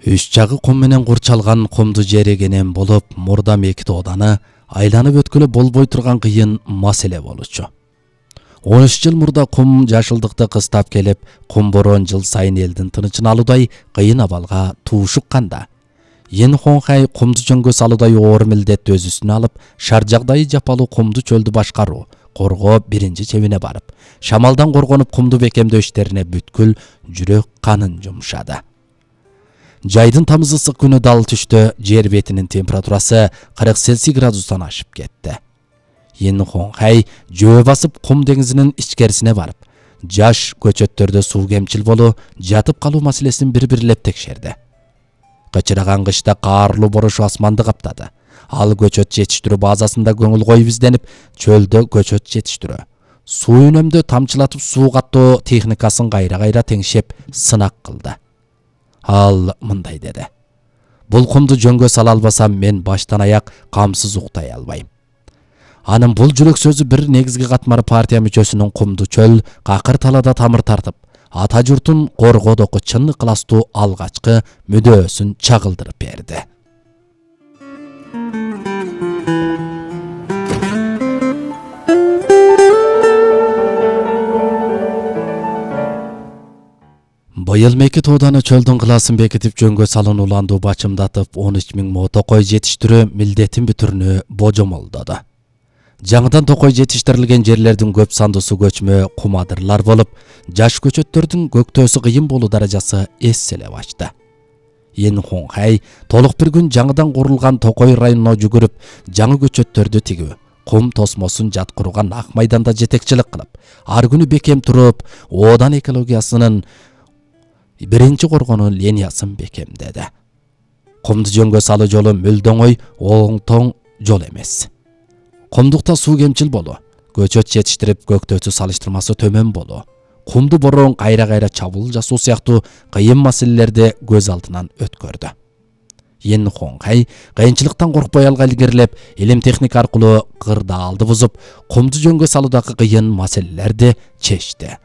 Үч жагы кум менен курчалган кумду жер эгенен болуп, мурдам эки тооданы айланып өткөлө болбой турган кыйын маселе болчу. 13 жыл мурда кум жашылдыкты кыстап келип, кум борон жыл сайын элдин тынычын алуудай кыйын абалга туушукканда, Ен Хонхай кумду жөнгө салуудай оор милдетти өз үстүнө алып, шар жагдайы жапалуу кумду чөлдү башкаруу, коргоо биринчи чебине барып, шамалдан коргонуп кумду бекемдөө иштерине бүткүл жүрөк канын жумшады. Жайдын тамыз ысык күнү дал түштө жер бетинин температурасы 40 Цельсий градустан ашып кетти. Ен Хонхай жөө басып кум деңизинин ичкерисине барып, жаш көчөттөрдө суу кемчил болуу, жатып калуу маселесин бири-бирлеп текшерди. Кычыраган кышта каарлуу боруш асманды каптады. Ал көчөт жетиштирүү базасында көңүл коюп изденип, чөлдө көчөт жетиштирүү, суу үнөмдө тамчылатып суу каттоо техникасын кайра-кайра теңшеп сынак кылды. Ал мындай деди: "Бул кумду жөнгө сала албасам, мен баштан аяк камсыз уктай албайм." Анын бул жүрөк сөзү бир негизги катмар партия мүчөсүнүн кумду чөл, какыр талада тамыр тартып, ата журтун коргоодогу чын ыкыластуу алгачкы мүдөөсүн чагылдырып берди. Быйыл меки тооданы чөлдүн кылаасын бекитип жөнгө салынууланду бачымдатып 13 000 мо токой жетиштирүү милдетин бүтүрүнү божомолдоду. Жаңыдан токой жетиштирилген жерлердин көп сандуусу көчмө кумадырлар болуп, жаш көчөттөрдүн көктөөсү кыйын болуу даражасы эсселеп ачты. Ен Хонхай толук бир күн жаңыдан курулган Токой районуна жүгүрүп, жаңы көчөттөрдү тигүү, кум тосмосун жаткырууга ак майданда жетекчилик кылып, ар күнү бекем туруп, оодан экологиясынын биринчи коргонуу линиясын бекемдеди. Кумду жөнгө салуу жолу мүлдө оңой, оңтоң жол эмес. Кумдукта суу кемчил болуу, көчөт жетиштирип көктөөсү салыштырмасы төмөн болуу, кумду борон кайра-кайра чабуул жасоо сыяктуу кыйын маселелерди көз алдынан өткөрдү. Ен Хонхай кыйынчылыктан коркпой алга илгерилеп, илим техника аркылуу кырдаалды бузуп, кумду жөнгө салуудагы кыйын маселелерди чечти.